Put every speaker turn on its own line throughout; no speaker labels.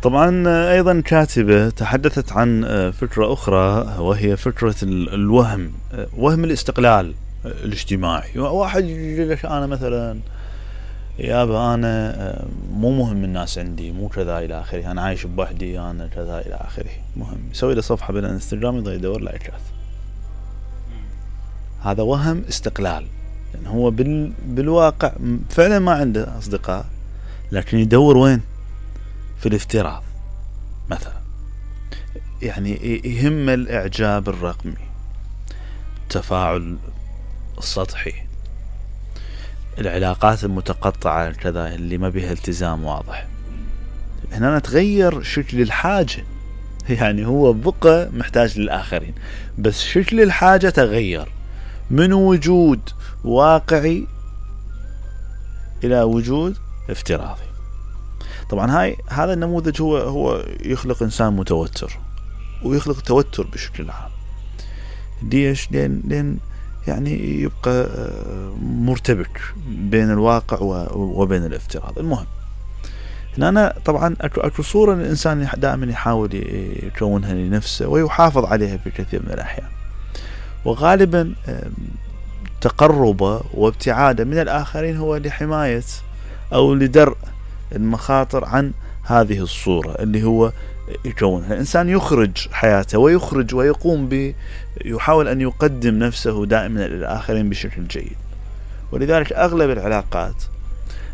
طبعا أيضا كاتبة تحدثت عن فكرة أخرى، وهي فكرة الوهم، وهم الاستقلال الاجتماعي. واحد يقول أنا مثلا يابا أنا مو مهم الناس عندي، مو كذا إلى آخره، أنا عايش بوحدي، أنا كذا إلى آخره. مهم يسوي له صفحة بالانستغرام يضل يدور لايكات. هذا وهم استقلال، يعني هو بالواقع فعلا ما عنده أصدقاء، لكن يدور وين؟ في الافتراض مثلا. يعني يهم الإعجاب الرقمي، التفاعل السطحي، العلاقات المتقطعة كذا اللي ما بيها التزام واضح. هنا نتغير شكل الحاجة، يعني هو بقى محتاج للآخرين، بس شكل الحاجة تغير من وجود واقعي إلى وجود افتراضي. طبعا هذا النموذج هو يخلق إنسان متوتر، ويخلق توتر بشكل عام. ليش؟ لأن يعني يبقى مرتبك بين الواقع وبين الافتراض. المهم هنا طبعا اكو صورة الإنسان دائما يحاول يكونها لنفسه ويحافظ عليها في كثير من الأحيان، وغالبا تقربه وابتعاده من الآخرين هو لحماية أو لدرء المخاطر عن هذه الصورة اللي هو يكونها. الإنسان يخرج حياته ويخرج ويقوم يحاول أن يقدم نفسه دائما للآخرين بشكل جيد. ولذلك أغلب العلاقات،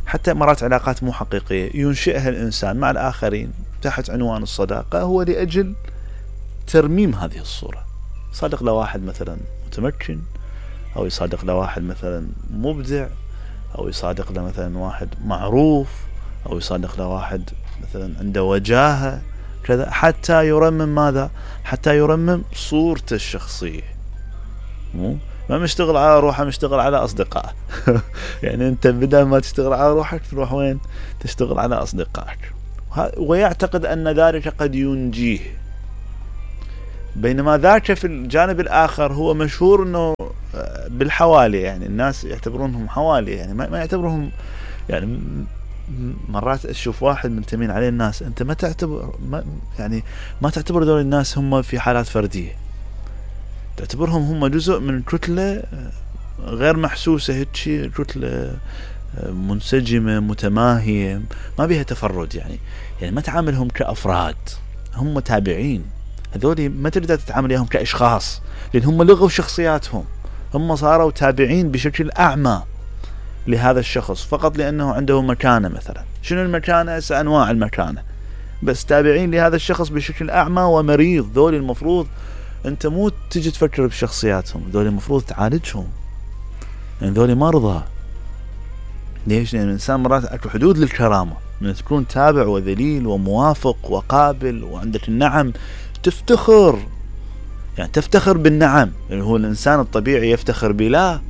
حتى مرات علاقات مو حقيقية، ينشئها الإنسان مع الآخرين تحت عنوان الصداقة، هو لأجل ترميم هذه الصورة. صادق لواحد مثلا متمكن، أو يصادق لواحد مثلا مبدع، أو يصادق لمثلا واحد معروف، أو يصادق لواحد مثلا عنده وجاهة كذا، حتى يرمم ماذا؟ حتى يرمم صورته الشخصية. ما مشتغل على روحه، مشتغل على أصدقائه. يعني أنت بدل ما تشتغل على روحك تروح وين؟ تشتغل على أصدقائك، ويعتقد أن ذلك قد ينجيه. بينما ذاك في الجانب الآخر هو مشهور أنه بالحوالي، يعني الناس يعتبرونهم حوالي، يعني ما يعتبرهم. يعني مرات أشوف واحد منتمين عليه الناس، أنت ما تعتبر دول الناس هم في حالات فردية، تعتبرهم هم جزء من كتلة غير محسوسة، هيك كتلة منسجمة متماهية ما بيها تفرد. يعني ما تعاملهم كأفراد، هم تابعين. هذول ما تقدر تتعامل وياهم كأشخاص، لأن هم لغوا شخصياتهم، هم صاروا تابعين بشكل أعمى لهذا الشخص فقط لأنه عنده مكانة. مثلا شنو المكانة؟ أنواع المكانة، بس تابعين لهذا الشخص بشكل أعمى ومريض. ذول المفروض أنت مو تجي تفكر بشخصياتهم، ذول المفروض تعالجهم، يعني ذول مرضى. ليش؟ لأن الإنسان مرات أكو حدود للكرامة، من تكون تابع وذليل وموافق وقابل وعندك النعم تفتخر، يعني تفتخر بالنعم. يعني هو الإنسان الطبيعي يفتخر بلا،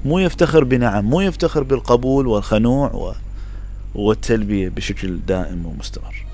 مو يفتخر بنعم، مو يفتخر بالقبول والخنوع والتلبية بشكل دائم ومستمر.